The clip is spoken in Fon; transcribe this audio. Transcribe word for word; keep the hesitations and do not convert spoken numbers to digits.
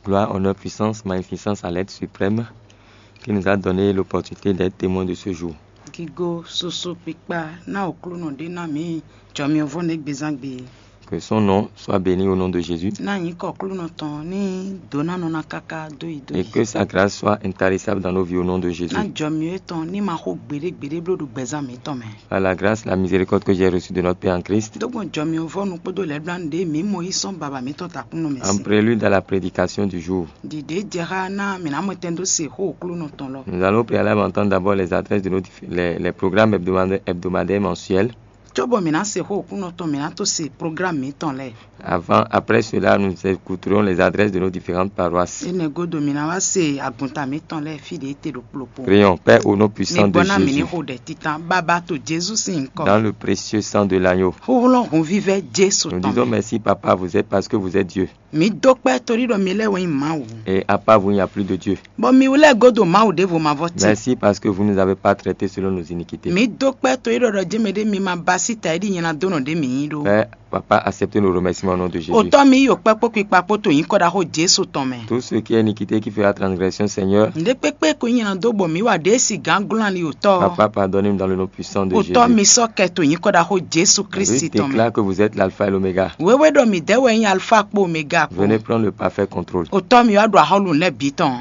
Gloire, honneur, puissance, magnificence à l'être suprême qui nous a donné l'opportunité d'être témoin de ce jour. Gigo, susu kpikpa ná Aklúnɔ ɖé ná mǐ jɔmyɔvɔ́ nɛ́ gbezán gbe. Que son nom soit béni au nom de Jésus Ná nyǐkɔ Aklúnɔ tɔn ní dǒ ná nɔ ná káká dó yi dó et yi. Que sa grâce soit intarissable dans nos vies au nom de Jésus. Ná jɔmyɔ étɔn ní ma xó gbeɖé gbeɖé bló ɖo gbɛzán mǐtɔn mɛ. Par la grâce, la miséricorde que j'ai reçue de notre Père en Christ, Dó gbɔn jɔmyɔvɔ́nu kpódó lɛ̌blánú ɖé mǐ mɔ yí sɔ́n baba mǐtɔn takúnnɔ mɛ en sí. Prélude à la prédication du jour, Ɖiɖě jɛ xá ná mǐ ná mɔtɛn dó se xó Aklúnɔ tɔn lɔ. Nous allons préalablement entendre d'abord les adresses de nos dif- les, les programmes hebdomadaires, hebdomadaires mensuels. Cóbɔ mǐ ná se xó Aklúnɔ tɔn mǐ ná tó se programme mǐtɔn lɛ́ɛ. Avant, après cela, nous écouterons les adresses de nos différentes paroisses. Énɛ́ gúdo mǐ ná wá se agunta mǐtɔn lɛ́ɛ fí ɖě te ɖo kplokplo. Prions, Père, au nom puissant de Mǐgbɔ́ ná mǐ ní Jésus, xo ɖɛ titan bábá to Jésù sín nyǐkɔ. Dans le précieux sang de l'agneau, Xóxlɔ́ hunvívɛ́ Jésù nous tɔn disons mɛ. Merci, Papa, vous êtes parce que vous êtes Dieu. Mǐ dó kpɛ́ torí ɖɔ mi lɛ́ɛ wɛ nyí Mawu. Et à part vous, il n'y a plus de Dieu. Bɔ mi lɛ́ɛ gúdo Mawu ɖěvo mavɔ ti. Merci parce que vous ne nous avez pas traités selon nos iniquités. Mǐ dó kpɛ́ torí ɖɔ ɖɔ jé mɛ ɖé mi ma ba sí ta é ɖi nyɛ ná dó nɔ ɖě mǐ yí ɖó. Père, Papa, acceptez nos remerciements au nom de Jésus. Òtɔ́ mi yí yǒ kpɛ́ kpó kpikpa kpó to nyǐkɔ ɖaxó Jésù tɔn mɛ. Tout ce qui est iniquité qui fera transgression, Seigneur, Nǔɖé kpékpé ko nyí nyɛ ná dó bɔ mǐ wa ɖě si gǎn glɔ́n ali òtɔ́. Papa, pardonnez-nous dans le nom puissant de Òtɔ́ Jésus. Mi sɔ́ kɛ to nyǐkɔ ɖaxó Jésù Je Kristi tɔn mɛ. Déclare que vous êtes l'alpha et l'oméga. Wéwé ɖɔ mǐ dɛ́ wɛ nyí alfa kpó omega kpó. Venez prendre le parfait contrôle. Òtɔ́ mi wá ɖo axɔ́lú lɛ́ɛ bǐ tɔn.